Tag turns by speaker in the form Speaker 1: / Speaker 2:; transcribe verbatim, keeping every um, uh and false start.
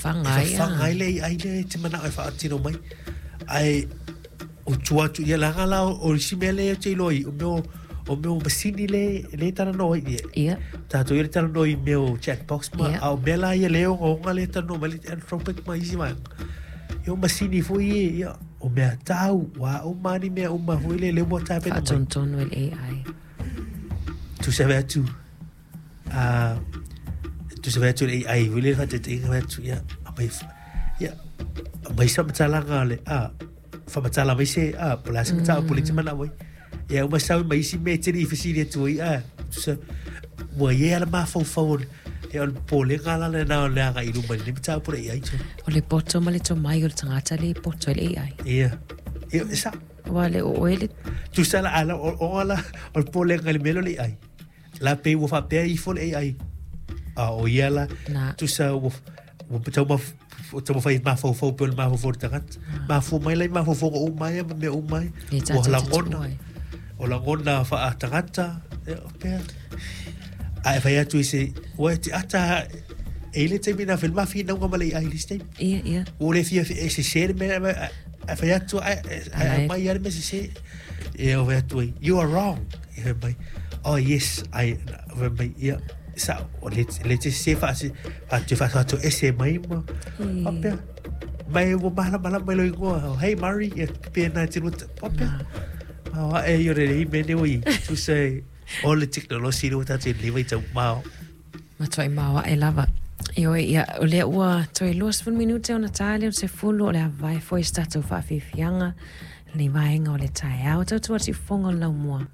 Speaker 1: Fafaga
Speaker 2: E
Speaker 1: ai
Speaker 2: fafaga ai le A I lea e te manao e faatino mai. Ae o tua atu ia laga la o isi mea lea te iloa i o mea o o mea o masini le le talanoa ai ia.
Speaker 1: Ia.
Speaker 2: Tatou ia le talanoa i mea o chatbox ma
Speaker 1: Ia.
Speaker 2: a o mea la ia le ogaoga le talanoa mai le Anthropic ma isi vaega. Ia o masini foi ia, ia o mea tau, ua uma ni mea uma foi le le ua tapena mai.
Speaker 1: Faatonutonu e le A I.
Speaker 2: Tusa fai atu, a tusa fai atu le A I foi le faataitaiga fai atu ia aumai ia aumai se faamatalaga le a faamatala mai se a po o le a se mataupu lea e te manao ai. Ia uma sau ma isi mea e te le i fesili atu ai a tusa ua i ai lava le mafaufau o le ia o le popolega la lena o le agai i luma i lenei mataupu le A I.
Speaker 1: O le poto ma le tomai o le tagata le poto ai le A I.
Speaker 2: Ia. Ia, e sao.
Speaker 1: Ua le o oe le
Speaker 2: Tusa la ala o o la o le popolega i le mea lea o le A I. La pei ua faapea ifo le A I. A o ia la
Speaker 1: Na.
Speaker 2: Tusa ua ua taumaf taumafai mafaufau pei o le mafaufau o le tagata. Mafua mai la i mafaufauga uma ia ma mea uma ai.
Speaker 1: Le
Speaker 2: Ua
Speaker 1: tatou te
Speaker 2: lagona.
Speaker 1: tuua ai.
Speaker 2: O lagona faatagata, ia o pea. A e fai atu i se ua e te ata e i le taimi na fai le mafinauga ma le A I i le isi taimi.
Speaker 1: Ia, ia.
Speaker 2: Ua le fia e sese le mea a fai atu a
Speaker 1: Alai.
Speaker 2: mai ia le mea sese. Ia o fai atu ai, "You are wrong." Ia fai mai, "Oh yes, I," fai mai, ia sa o le le te sese faase faatu faatu ese mai ma faapea. Mai ua malamalama mai lou igoa, "Hey Murray," ia pe na te lua faapea. Ma e ia le mea nei ua i tusa e o le tekonolosi lea ua tatou i lenei vaitau mao.
Speaker 1: Matuai maoae lava. Ioe, ia, o lea ua toe luasefulu minute ona ta lea o le sefulu o le avae foi se tatou faafiafiaga lenei vaega o le taeao. Tautua siufofoga o le laumua.